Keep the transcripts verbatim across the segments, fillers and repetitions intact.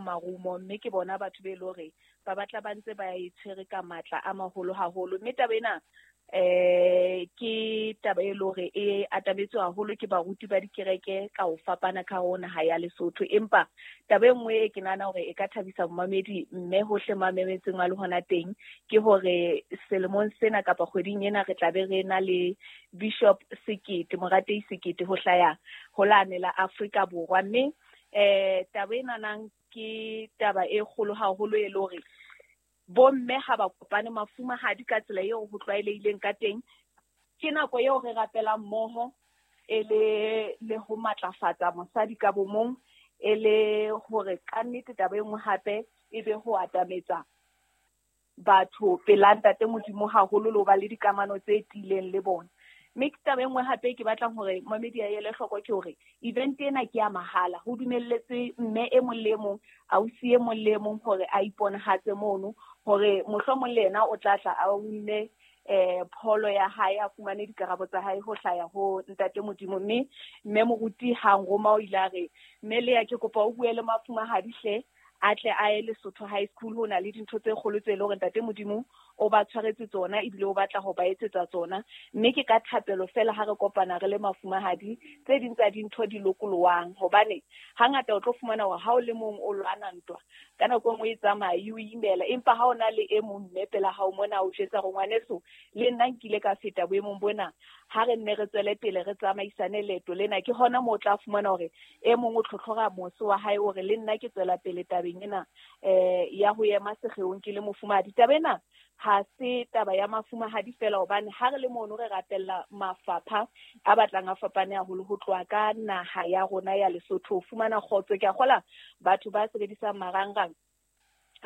marumo, mme ke bona batho be le hore ba batla ba ntse ba e tshwere ka matla a maholo haholo. Mme taba ena eh ke taba e le hore e atametswe haholo ke baruti ba dikereke ka ho fapana ka ho naha ya Lesotho. Empa taba e nngwe e ke nahana hore e ka thabisa momamedi mme hohle mo mametseng a le hona teng ke hore selemong sena kapa kgweding ena re tla be re na le Bishop Sekete, Moratei Sekete ho hlaya ho lane la Afrika Borwa. Mme eh taba ena nang ke taba e kgolo haholo e le hore bomme ha ba kopane mafumahadi ka tsela eo ho tlwaelehileng ka teng. Ke nako eo re rapelang mmoho e le le ho matlafatsa mosadi ka bomong, e le hore ka nnete taba e nngwe hape e be ho atametsa batho pela Ntate Modimo haholo le ho ba le dikamano tse tiileng le bona. Mme ke taba e nngwe hape ke batlang hore momedi a ele hloko ke hore event ena ke ya mahala, ho dumelletswe mme e mong le e mong, ausi e mong le e mong hore a iponahatse mono, hore mohlomong le yena o tla tla a unne eh pholo ya hae, a fumane dikarabo tsa hae ho hlaya ho Ntate Modimo. Mme mme moruti ha nroma o ile a re, mme Leya ke kopa o bue le mafumahadi hle, a tle a ye Lesotho High School, ho na le dintho tse kgolo tse leng hore Ntate Modimo o ba tshwaretse tsona ebile o batla ho ba etsetsa tsona. Mme ke ka thapelo fela ha re kopana re le mafumahadi tse ding tsa dintho di lokolowang, hobane hangata o tlo fumana hore ha o le mong o lwana ntwa ka nako e nngwe e tsamaya e o imela, empa ha o na le e mong mme pela hao mona o jwetsa hore ngwaneso le nna nkile ka feta boemong bona, ha re nne re tswele pele re tsamaisane leeto lena. Ke hona moo o tla fumana hore e mong o tlhotlhora mose wa hae hore le nna ke tswela pele tabeng ena eh ya ho ema sekgeong ke le mofumahadi. Taba ena ha se taba ya mafumahadi fela, hobane ha re le mono re rapella mafapha a batlang a fapane haholo ho tloha ka naha ya rona ya Lesotho ho fumana kgotso. Ke a kgola batho ba sebedisang marangrang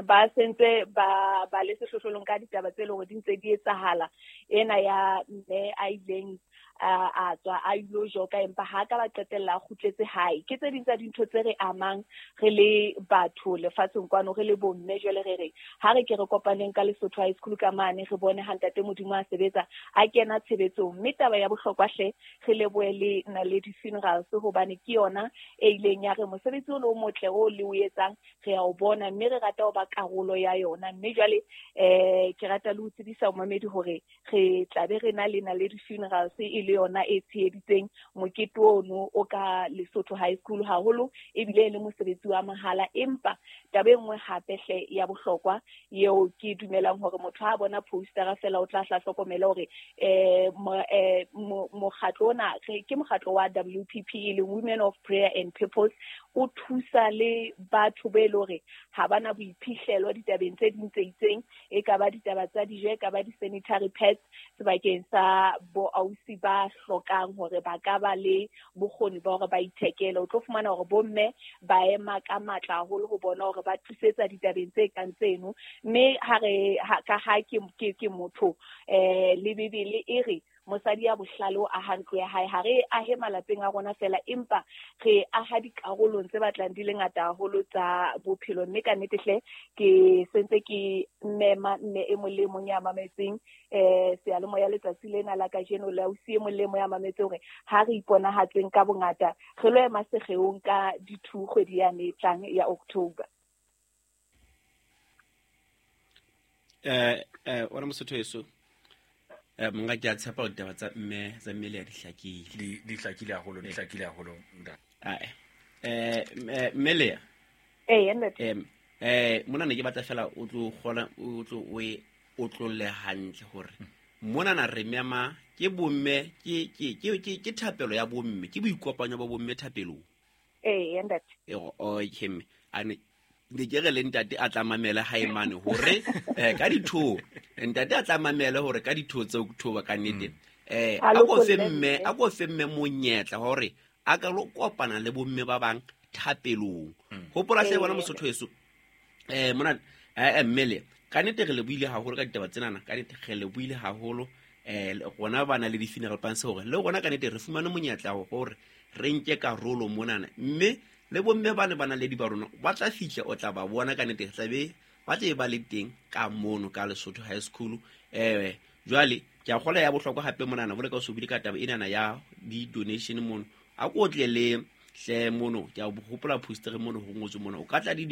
ba sentse ba ba le sehlohlolong ka ditaba tse leng hore di ntse di etsahala. Ena ya mme a ileng a a tswa a ilo joka empa ha ka ba qetella a kgutletse hae. Ke tse ding tsa dintho tse re amang re le batho lefatsheng kwano, re le bomme. Jwale re re ha re ke re kopaneng ka Lesotho High School ka mane, re bone ha Ntate Modimo a sebetsa a kena tshebetsong. Mme taba ya bohlokwa hle re lebohe le Naledi Funerals, hobane ke yona e ileng ya re mosebetsi o le o motle o le o etsang re a o bona, mme re rata ho ba karolo ya yona. Mme jwale eh ke rata le ho tsebisa momamedi hore re tla be re na le Naledi Funerals e le yona e tsheheditseng mokete ono o ka Lesotho High School haholo, ebile e le mosebetsi wa mahala. Empa taba e nngwe hape hle ya bohlokwa eo ke dumelang hore motho ha bona postera fela o tla hla hlokomela hore eh mokgatlo ona ke mokgatlo wa W P P e leng Women of Prayer and Purpose, o thusa le batho be le hore ha bana boiphihlelo ditabeng tse ding tse itseng, e ka ba ditaba tsa dijo, e ka ba di-sanitary pads sebakeng sa bo ausi ba hlokang hore ba ka ba le bokgoni ba hore ba ithekele. O tlo fumana hore bomme ba ema ka matla haholo ho bona hore ba thusetsa ditabeng tse kang tseno. Mme ha re ka ha ke ke ke motho eh le Bibele e re mosadi ya bohlale o aha ntlo ya hae. Ha re ahe malapeng a rona fela, empa re aha dikarolong tse batlang di le ngata haholo tsa bophelo. Mme ka nnete hle ke sentse ke mema mme e mong le e mong ya mametseng eh seyalemoya letsatsi lena la kajeno, le ausi e mong le e mong ya mametseng hore ha re iponahatseng ka bongata re lo ema sekgeong ka di-two kgwedi yane e tlang ya October. Eh eh wena Mosotho heso, eh monga ke a tshepa hore ditaba tsa mme tsa mmele ya di hlakile. Di di hlakile haholo, di hlakile haholo ntate. Ae. Eh mme Leya. Eh ntate. Eh eh mona ne ke batla fela o tlo kgona o tlo o e o tlolle hantle hore mona na re mema ke bomme ke ke ke ke thapelo ya bomme, ke boikopanyo ba bomme thapelong. Eh ntate. Eh okay mme ane ne ke re le ntate a tla mamela hae mane hore eh ka ditho ntate a tla mamela hore ka ditho tse October ka nnete eh a go fe mme a go fe mme monyetla hore a ka lo kopana le bomme ba bang thapelong. Hopola hle bona Mosotho heso eh mona eh mmele ka nnete re le buile haholo ka ditaba tsenana, ka nnete re le buile haholo eh rona ba na le di-funeral plans hore le rona ka nnete re fumane monyetla hore re nke karolo monana, mme le bomme ba ne ba na le di ba rona ba tla fihla o tla ba bona ka nnete tla be ba tle ba le teng ka mono ka Lesotho High School. Eh jwale ke a kgola ya bohlokwa hape monana bole ka o sobile ka taba enana ya di-donation mono, a ko tle le hle mono ke a hopola poster mono ho ngotswe mono o ka tla di